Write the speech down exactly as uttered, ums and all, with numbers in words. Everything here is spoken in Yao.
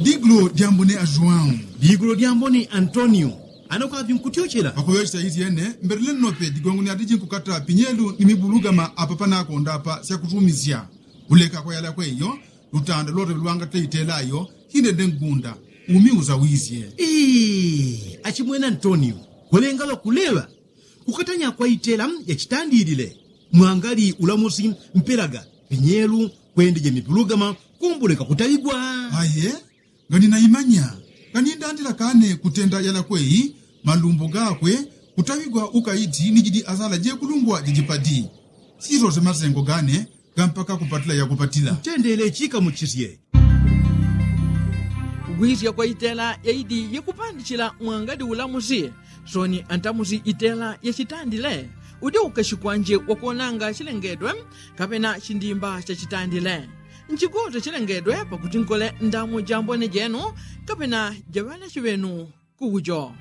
Digulo dyambone a juwau. Digulo dyambone antonio. Ano kavi nkutyochela pakuŵechesa isyene. Mbelele nnope digongo ni adiji nkukata pinyelu ni mibulugama apa panakonda apa syakutumisya. Kuleka kwayalakwe iyo lutanda lwote lwangate itela iyo. Hindende ngunda umi usawisye. Achimwene antonio, kwelenga lwakuleŵa kukatanya kwa itela yachitandilile. Mwangali ulamusi mpelaga pinyelu kwendije mipulugama kumbuleka kutaŵigwa. Aye, nganinaimanya. Nganindandila kane kutenda yalakweyi malumbo gakwe kutaŵigwa ukaiti ni jidi asala jekulungwa jijipadi. Sisose masengo gane gampaka kupatila yakupatila. Ntendele chikamuchisye. Kugwisya kwa itela yaidi yakupandichila mwangadi ulamusi. Soni antamusi itela yachitandile. Udi ukashi kwanje wakuonanga chilengedwe kapena chindimba chachitandile. Nchigute chilengedwe pakuti nkole ndamu jambone jenu kapena jaŵanachi ŵenu. Kukujo.